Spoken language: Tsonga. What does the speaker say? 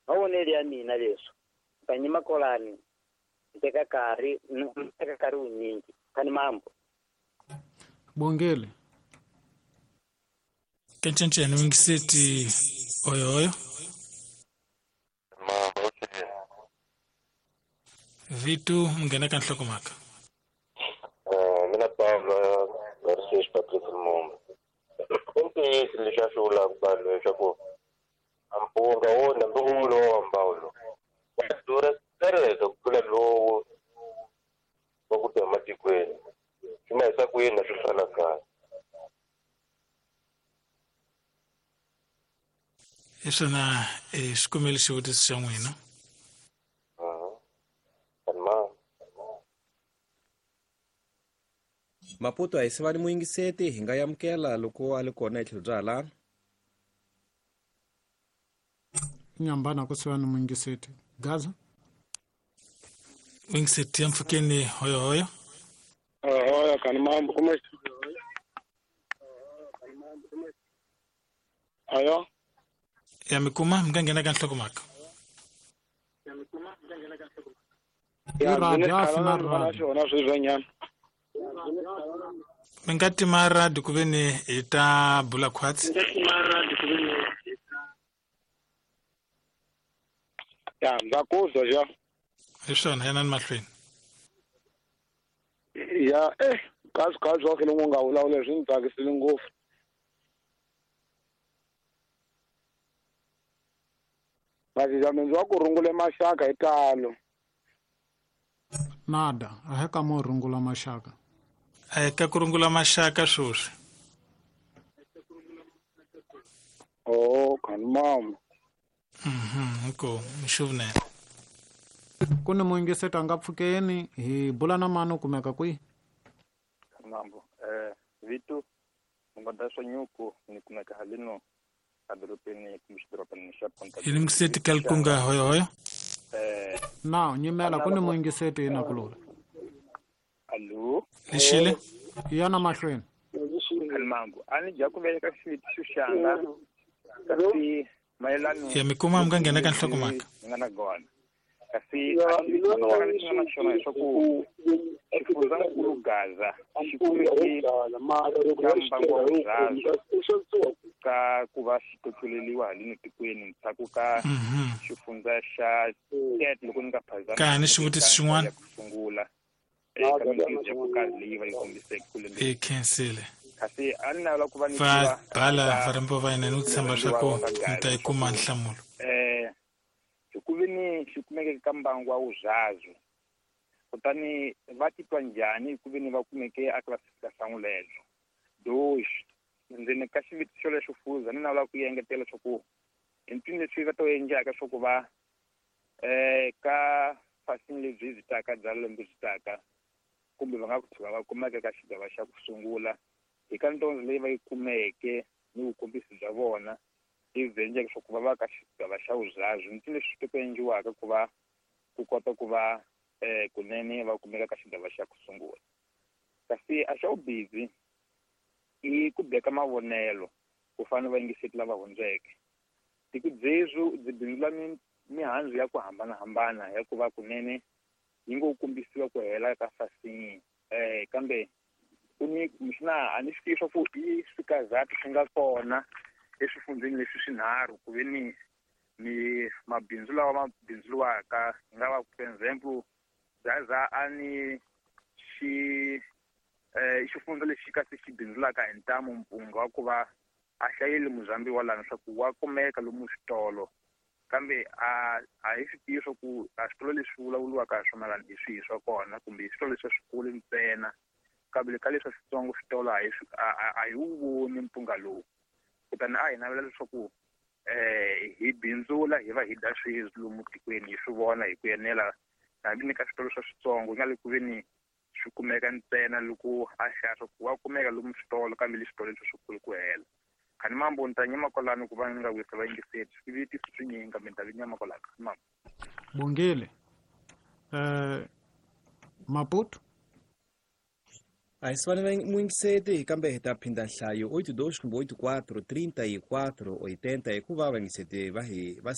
Mavonelo ya mina leswi ta nyima kolani teka nkarhi teka nkarhi wunyingi kani mambo Bongele Kencenceni wingiseti oyoyo Vitu mngena ka nhlokomhaka. Mina Pablo Garcia Patrice Lumumba. I ntiyiso leswi a swi vulaka vanhu leswaku mpunga wo na mbewu lowu wa mbawulo wa durha tereka ku tlula lowu wa ku ta ematikweni. Swi ma hisa ku yini na swi fana kahle. Hi swona xikumeli xivutiso xa n'wina. Maputo a hi sivani muyingiseti hi nga yamukela loko a li kona hi tlhelo bya halano. Nyambana ku sivani muyingiseti. Gaza? Muyingiseti ya mpfhukeni hoyohoyo. Hoyo kani mambo kuma. Ayo. Ya mikuma mnga ka nhlokomhaka. Ya radio afina radio na swizwanyana. Mi nga tima radio ku ve ni hi ta bula khwatsi. Ya ndza ku zwa ja. Hi swona yanani mahlweni. Ya kazi kazi wa khele nga vulavula swi ndzi tsakisile ngopfu. Vaziza wa ku rungule maxaka hi talo. Nada, a hi ka mo rungula maxaka. A hi ka ku rungula maxaka sweswi. Oh, kani mama. Inkomu, mxuvunene. Ku ni muyingiseti a nga pfukeni hi bula na mani u kumeka kwihi? Mambo, Vitu, Mungoda swa nyuku ni kumeka halino adorobeni kumbe xidorobani xa Ponta. Hi yingiseti ka likunga hoyohoyo. Na nyimela ku ni muyingiseti na kulula. Allo. Lexile. Yana mahlweni. Mambo, a ni dya ku veka xivutiso xanga kasi mayelano ya mikuma mi nga nghena ka nhlokomhaka. Nga na gona. Kasi a xi nga na xona leswaku xifundzankulu Gaza xi kumeke ka mbangu wa vuzhazo ka ku va xi totloleliwa haleni tikweni ndzhaku ka xifundza xa Tete loko ni nga phazami. Ka ni xivutiso xin'wana ku sungula eka mintirho ya ku karhi leyi va yi kombiseke ku lembe. I khensile. Kasi a ni navela ku va ni va bala varhambiwa va hina ni ku tshemba swa ku mi ta yi kuma nhlamulo. Hi ku ve ni xi kumeke ka mbangu wa vuzhazo kutani va titwa njhani hi ku ve ni va kumeke a classification lebyo doxi ndzeni ka xivutiso lexo fuza ni navela ku engetela leswaku hi mpfini leswi va to endlaka swa ku va ka fasini lebyi byi taka bya lembe byi taka kumbe va nga ku tshuka va kumeka ka xigava xa ku sungula hi ka ntondzo leyi va yi kumeke ni vukombisi bya vona lebyi endleke swa ku va va ka xigava xa vuzhazo mpfini leswi swi to endliwaka ku va ku kota ku va kunene va kumeka ka xigava xa ku sungula. Kasi a xa vubizi i ku beka mavonelo ku fana va yingiseti lava hundzeke. Tiko byebyo byi bindzula mihandzu ya ku hambanahambana ya ku va kunene yi ngo kombisiwa ku hela ka fasini kambe ku ni kumbexana a ni swi tivi swa ku i swikazatu swi nga kona eswifundzeni leswi swinharhu ku ve ni mi mabindzu lawa ma bindzuriwaka hi nga va for example Gaza a ni xi xifundza lexi kasi xi bindzulaka hi ntamu mpunga wa ku va a hlayeli Muzambi wa lana swa ku wa kumeka lomu switolo kambe a hi swi tivi swa ku a switolo leswi vulavuriwaka hi swona lani hi swihi swa kona kumbe switolo leswi swikulu ntsena kambe ka leswi switsongo switolo a hi wu voni mpunga lowu. Kutani a hi navela leswaku hi bindzula hi va hi dya sweswi lomu tikweni hi swi vona hi ku enela hambi ni ka switolo swa switsongo nga le ku ve ni swi kumeka ntsena loko a xava swa ku wa kumeka lomu switolo kambe leswi switolo leswi swikulu ku hela. Kani mambo ni ta nyima kwalano ku va ni nga wisa vayingiseri swivutiso swinyingi kambe ni ta vi nyama kwalano. Mambo. Bongile. Maputo. A hi sivani muyingiseti, kambe hi ta phinda nhlayo 82 kumbe 84 34 80, hikuva vayingiseti va hi va.